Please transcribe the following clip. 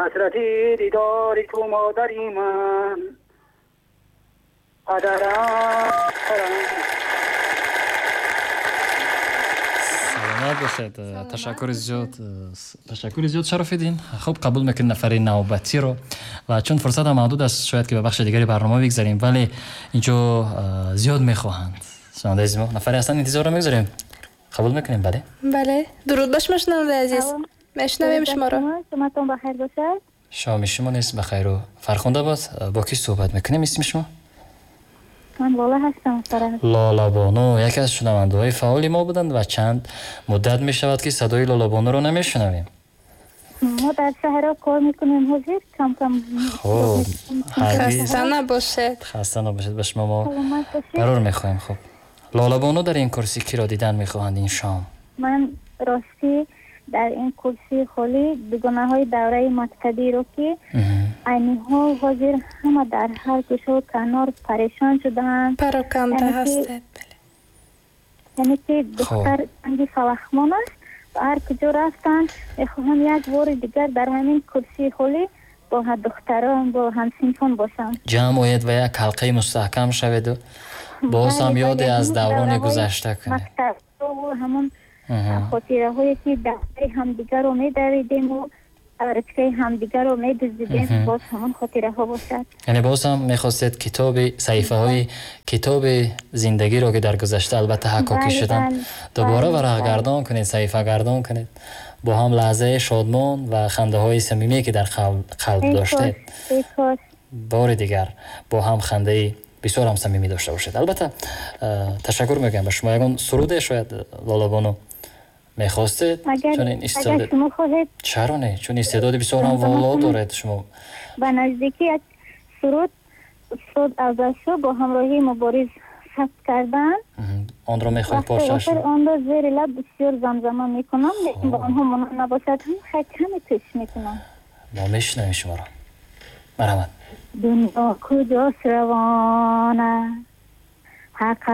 Ҳасрати дидори ту, модари ман, падарам. Саломат бошед, ташаккури зиёд, ташаккури зиёд, Шарофиддин. Хуб, қабул мекунем нафари навбатиро ва чун фурсат ҳам маҳдуд аст, шояд ки ба бахши дигари барнома бигзарем, вале инҷо зиёд мехоҳанд шунавандаи азизи мо. Нафаре ҳастанд, интизорро мегузорем, қабул мекунем, бале? Бале, дуруд ба шумо, шунавандаи азиз, мешунавем шуморо. Шоматон бахайр бошад. Шоми шумо низ бахайру фархунда бод. Бо кӣ суҳбат мекунем, исми шумо? Ман Лола ҳастам. Лолабону яке аз шунавандаҳои фаъоли мо буданд ва чанд муддат мешавад, ки садои Лолабонуро намешунавем. Мо дар шаҳрҳо кор мекунем, ҳозир кам-кам. Хуб, хаста набошед. Хаста набошед, ба шумо мо барор мехоҳем. Хуб, Лолабону, дар ин курсӣ киро дидан мехоҳанд ин шом? Ман ростӣ дар ин курсии холӣ дугонаҳои давраи мактабиро, ки айниҳо ҳозир ҳама дар ҳар гӯшаву канор парешон шудаанд. Пароканда ҳастед. Яъне ки духтар танги фалахмон аст ва ҳар куҷо рафтанд, мехоҳам як бори дигар дар ҳамин курсии холӣ бо духтарон, бо ҳамсинфон бошам. Ҷамъ оед ва як ҳалқаи мустаҳкам шаведу боз ҳам ёде аз даврони гузашта кунед. Мактаб ҳамон хотираҳое, ки дафтари ҳамдигарро медавидему ручкаи ҳамдигарро медуздидем, боз ҳамон хотираҳо бошад. Яъне боз ҳам мехостед китоби саҳифаҳои китоби зиндагиро, ки дар гузашта албатта ҳаккокӣ шуданд, дубора варақгардон кунед, саҳифагардон кунед, бо ҳам лаҳзаи шодмон ва хандаҳои самимие, ки дар қалб доштед, бори дигар бо ҳам хандаи бисёр ҳам самимӣ дошта бошед. Албатта, ташаккур мегӯям ба шумо. Ягон суруде шояд, Лолабону, мехостед? Чун ин истеъдод, чаро не, чун истеъдоди бисёр ҳам воло доред шумо. Ба наздикӣ як суруд устод Афзалшо бо ҳамроҳии Мубориз сабт карданд. Онро мехоҳед порчааш? Онро зери лаб бисёр замзама мекунам, лекин ба онҳо монанд набошад ҳам, хай, каме кӯшиш мекунам. Мо мешунавем шуморо, марҳамат. Дунё куҷост равона, ҳақ.